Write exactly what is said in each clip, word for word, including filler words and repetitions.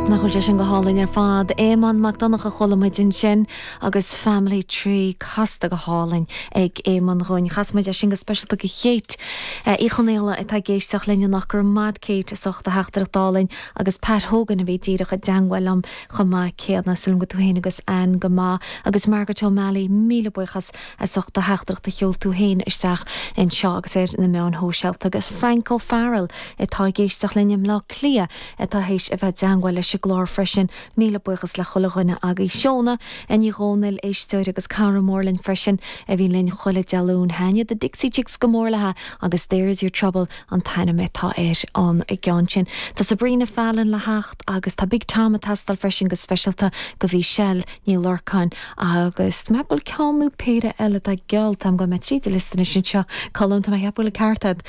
Nach bhfuil sé sin go hálainn ar fad Éamonn Mac Donncha chuala muid ansin agus Family Tree casta go hálainn ag Éamonn dhúinn. Chas muid é sin go speisialta do Kate Uí Chonaola atá ag éisteacht linn nach gur mad Kate is ucht a theachtaireacht álainn agus Pat Hogan a bhí díreach i dteagmháil liom chomh maith céanna sílim go tú féin agus Ann go maith agus Margaret O'Malley míle buíochas as ucht a theachtaireacht a sheol tú féin isteach anseo agus ar na meáin shóisialta agus Frank O'Farrell atá ag éisteacht linn i mBleá Cliath atá théis a bheith i dteagmháil leis an gclár freisin míle buíochas le chuile dhuine agus Seona Ní Dhomhnaill éisteoir agus cara mór linn freisin a bhí linn chuile Dé Luain thaitin The Dixie Chicks go mór léi agus There's Your Trouble an t-ainm atá ar an gceann sin. Tá Sabrina Fallon le theacht agus tá Big Tom ag teastáil freisin go speisialta go Mhichelle Ní Lorcáin agus me bhfuil ceann péire eile tá gealltam go me tríd liosta sin seo Colm tá heapbhfuil ceartad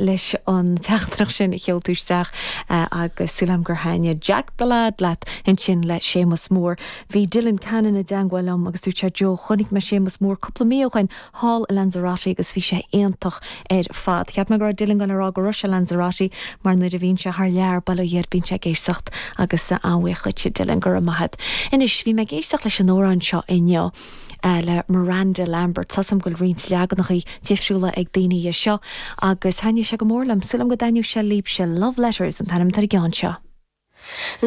leis an teachtaireacht sin a sheol tú isteach agus sílim gur thaitin Jack the Lad leat ansin le Séamus Moore. Bhí Dylan Cannon i dteagmháil liom agus dúirt sé Joe chonaic mé Séamus Moore cúpla mí ó shin thall i Lanzarote agus bhí sé iontach ar fad. Cheap mé go raibh Dylan gan rá go raibh sé Lanzarote mar nuair a bhíonn sé thar lear bail ó Dhia air bíonn sé ag éisteacht agus an-bhuíoch Dylan go raibh maith agat. Anois bhí mé ag éisteacht leis an amhrán seo inniu. Uh, le Miranda Lambert Tá go bhfuil roinnt leaganacha difriúla ag daoine é seo agus thaitin sé go mór liom sílim go dtaitneoidh sé libhse Love Letters an t-ainm ar an gceann seo.